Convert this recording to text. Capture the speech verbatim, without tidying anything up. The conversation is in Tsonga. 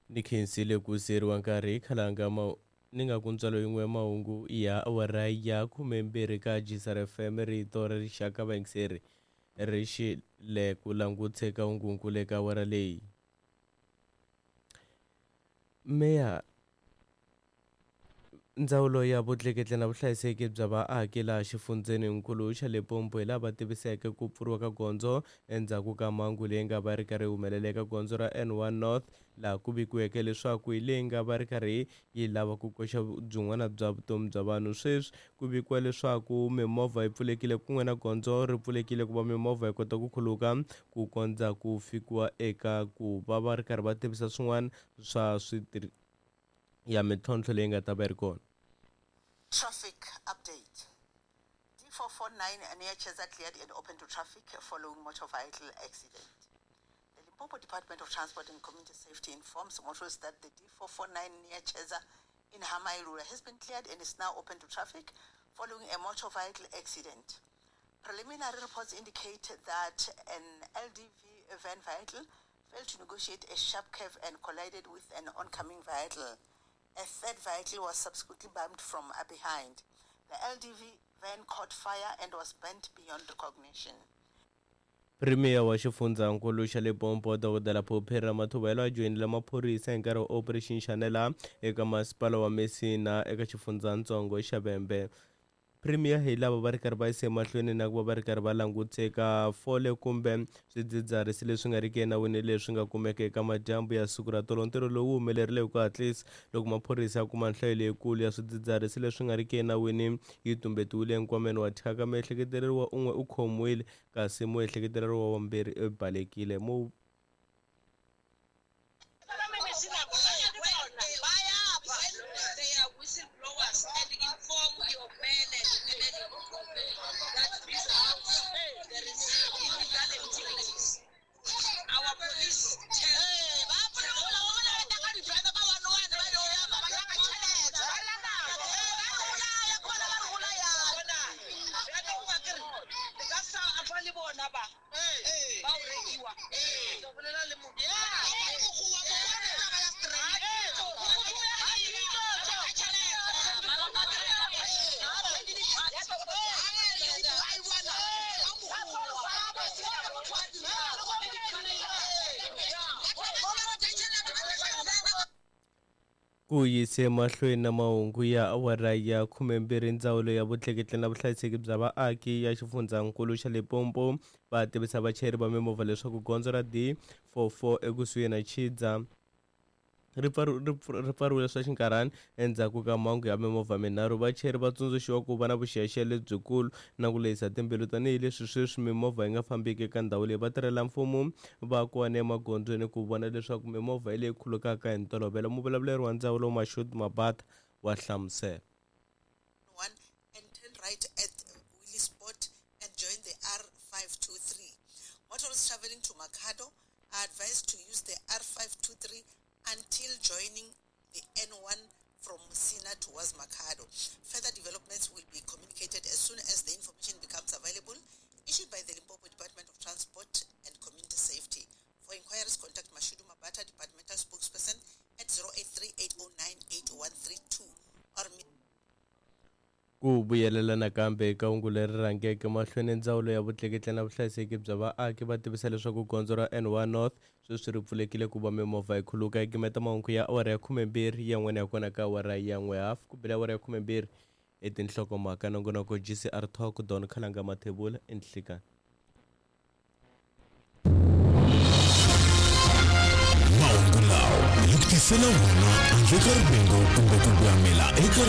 Ni khensile ku siyeriwa nkarhi khalanga ma ni nga ku ntswalo yin'we ya mahungu ya awara ya khumembirhi ka G S R F M rito ra rixaka vayingiseri ri xi le ku languteka hungunkulu eka awara leyi. Meya Ndzawulo ya vutleketli na vuhlayiseki bya vaaki laha xifundzheninkulu xa Limpopo hi laha va tiviseke ku pfuriwa ka gondzo endzhaku ka mhangu leyi nga va ri karhi yi humelela eka gondzo ra N one North laha ku vikiweke leswaku hi leyi nga va ri karhi yi lava ku koxa byin'wana bya vutomi bya vanhu. Sweswi ku vikiwa leswaku mimovha yi pfulekile kun'we na gondzo ri pfulekile ku va mimovha yi kota ku khuluka ku kondza ku fikiwa eka ku va va ri karhi va tivisa swin'wana swa switirhi ya mintlhontlho leyi nga ta va yi ri kona. Traffic update. D four four nine near Cheza cleared and open to traffic following motor vehicle accident. The Limpopo Department of Transport and Community Safety informs motorists that the D four four nine near Cheza in Hamailura has been cleared and is now open to traffic following a motor vehicle accident. Preliminary reports indicate that an L D V van vehicle failed to negotiate a sharp curve and collided with an oncoming vehicle. A third vehicle was subsequently bumped from behind. The L D V van caught fire and was burnt beyond recognition. Premier wa xifundzhankulu xa Limpopo Dokodela Phophi Ramathuba a joyinile maphorisa hi nkarhi wa Operation Shanela eka masipala wa Messina eka xifundzhantsongo xa Vhembe. Premier hi lava va ri karhi va yisa emahlweni na ku va va ri karhi va languteka fole kumbe swidzidziharisi leswi nga riki enawini leswi nga kumeka eka madyambu ya siku ra tolo. Ntirho lowu humelerile hi ku hatlisa loko maphorisa ya kuma nhlayo leyikulu ya swidzidziharisi leswi nga riki enawini yi tumbetiwile enkwameni wa thyaka. Muehleketeleriwa un'we u khomiwile kasi muehleketeleriwa wa vumbirhi u balekile. Mu ku yise emahlweni na mahungu ya awara ya khumembirhi ndzawulo ya vutleketli na vuhlayiseki bya vaaki ya xifundzhankulu xa Limpopo va tivisa vachayeri va mimovha leswaku gondzo ra D four four ekusuhi na Chidza ri pfariwile swa xinkarhana endzhaku ka mhangu ya mimovha minharhu. Vachayeri va tsundzuxiwa ku va na vuxiyaxiya lebyikulu na ku lehisa timbilu tanihileswi sweswi mimovha yi nga fambiki eka ndhawu leyi. Vatirhela mfumo va kona emagondzweni ku vona leswaku mimovha yi leyi khulukaka hi ntolovelo. Muvulavuleri wa ndzawulo Mashudu Mabata wa hlamusela. And turn right at Willie Sport and join the R five two three. Motorists traveling to Makhado are advised to use the R five two three until joining the N one from Musina towards Makhado. Further developments will be communicated as soon as the information becomes available, issued by the Limpopo Department of Transport and Community Safety. For inquiries, contact Mashudu Mabata, departmental spokesperson, at zero eight three eight zero nine eight one three two or Ku vuyelela nakambe eka hungu leri rhangeke mahlweni, ndzawulo ya vutleketli na vuhlayiseki bya vaaki va tivisa leswaku gondzo ra N one North sweswi ri pfulekile ku va mimovha yi khuluka. Yi gimeta mahungu ya awara ya khumembirhi yan'wana ya kona ka awara ya n'we hafu ku bile awara ya khumembirhi i tinhlokomhaka. Nongonoko G C R Talk Don Khalanga Mathebula enhlikani. Mahungu lawa hi ku tisela wona handle ka rivengo kumbe ku gwamela eka